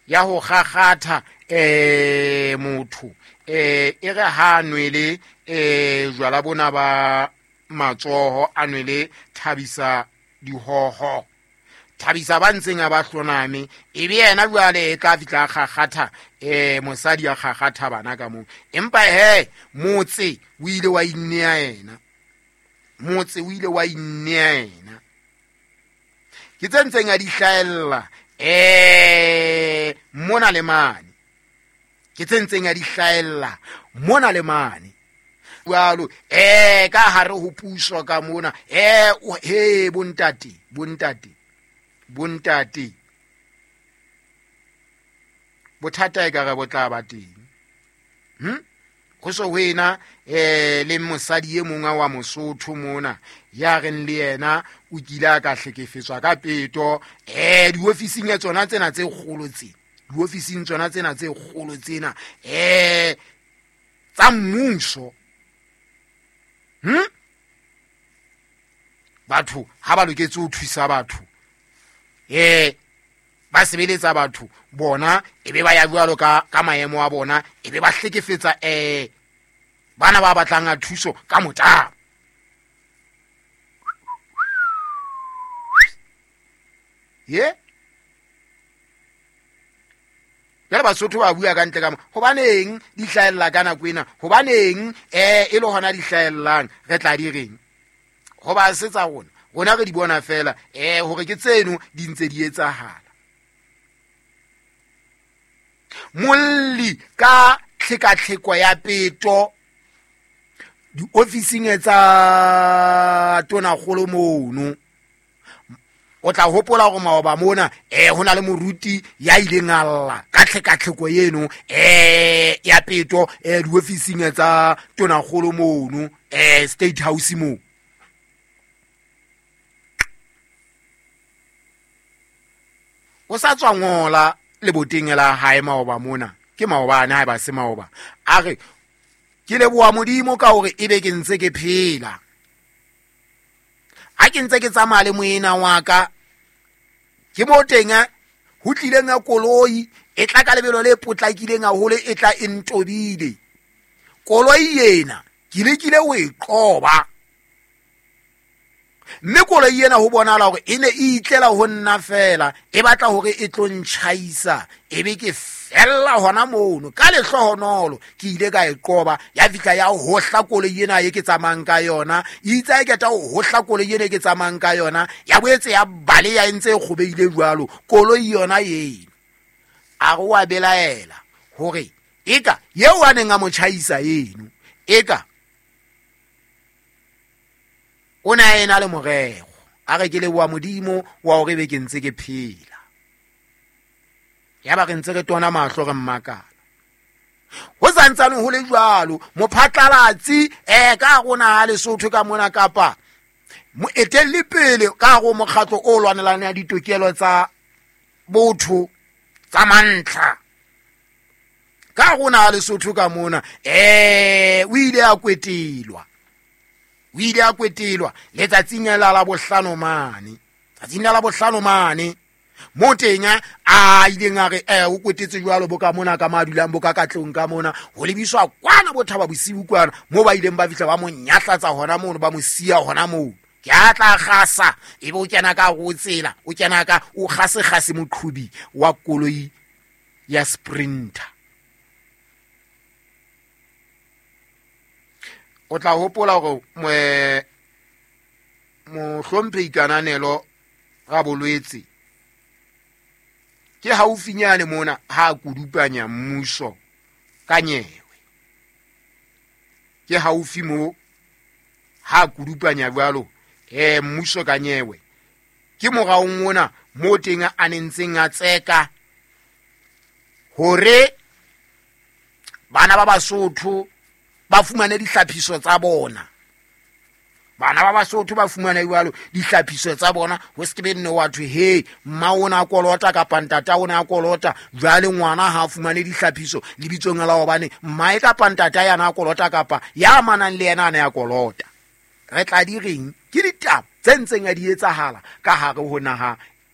Ya ho kgakgatha motho e re ha nwele jwala bona ba matsoho a nwele thabisa dihoho thabisa ba ntseng a ba hloname e be yena jwale e tla fihla a kgakgatha mosadi a kgakgatha bana ka moo. Empa he motse o ile wa innea yena, motse o ile wa innea yena. Ke tse ntseng a di hlahella mona le mane, ke tse ntseng a di hlahella mona le mane jwalo ka hare ho puso ka mona. He bontate, bontate, bontate, bothata e ka re bo tla ba teng. Ho so ho ena le mosadi e mongwe wa Mosotho mona ya reng le yena o kile a ka hlekefetswa ka peto diofising ya tsona tsena tse kgolo tse, diofising tsona tsena tse kgolo tsena tsa mmuso. Batho ha ba loketse ho thusa batho ba sebeletsa batho bona e be ba ya jwalo ka maemo a bona, e be ba hlekefetsa bana ba batlang a thuso ka motabo. Ye jwale Basotho ba bua ka ntle ka mo, hobaneng di hlahella ka nako ena, hobaneng e le hona di hlahellang, re tla di reng? Hoba se tsa rona, rona re di bona fela hore ke tseno di ntse di etsahala. Molli ka tlhekatlheko ya peto diofising tsa tonakgolo mono, o tla hopola hore maoba mona ho na le moruti ya ileng a lla ka tlhekatlheko eno ya peto diofising tsa tonakgolo mono State House moo. O sa tswa ngola leboteng la hae maoba mona, ke maobane ha e ba se maoba, a re ke leboha Modimo ka hore ebe ke ntse ke phela. Ha ke ntse ke tsamaya le moena wa ka, ke mo teng ho tlileng ya koloi e tla ka lebelo le potlakileng haholo, e tla e ntobile. Koloi ena ke lekile ho e qoba, mme koloi ena ho bonahala hore e ne e itlela ho nna fela, e batla hore e tlo ntjhaisa, e be ke fella hona mono. Ka lehlohonolo ke ile ka e qoba, ya fihla ya hohla koloi ena e ke tsamayang ka yona. E itse ha e qeta ho hohla koloi ena e ke tsamayang ka yona, ya boetse ya baleha e ntse e kgobeile jwalo koloi yona eno. A re wa belaela hore eka eo a neng a mo tjhaisa eno, eka o ne a ena le morero. A re ke leboha Modimo wa hore be ke ntse ke phela. Ya ba re ntse re tona mahlo re mmakala. Ho santsane ho le jwalo, mophatlalatsi ka rona ha Lesotho ka mona kapa moetelli pele ka hare ho mokgatlo o lwanelang ya ditokelo tsa botho tsa mantlha ka rona ha Lesotho ka mona o ile a kwetelwa, o ile a kwetelwa letsatsing la Labohlano mane, tsatsing la Labohlano mane mo teng a ileng a re o kwetetse jwalo bo ka mona ka ma dulang bo ka katlong ka mona, ho lebiswa kwana bo Thaba Bosiu kwana mo ba ileng ba fihla ba mo nyahlatsa hona mono, ba mo siya hona moo. Ke a tla gasa, ebe o kena ka go tsela, o kena ka o gase gase moqhubi wa koloi ya Sprinter. O tla hopola hore mohlomphehi Kananelo Rabolwetse ke haufinyane mona ha a kudupanya mmuso ka nyewe. Ke haufi mo ha a kudupanya jwalo mmuso ka nyewe. Ke moraong ona mo teng a nentseng a tseka hore bana ba Basotho ba fumane dihlaphiso tsa bona. Bana ba Basotho ba fumane jwalo dihlaphiso tsa bona, ho se ke be nne wa thwe he mma o na kolota kapa ntata o na kolota, jwale ngwana ha a fumane dihlaphiso lebitsong la hobane mmae kapa ntata ya na kolota kapa ya amanang le yena a ne a kolota. Re tla di reng? Ke ditaba tse ntseng a di etsahala ka hare ho naha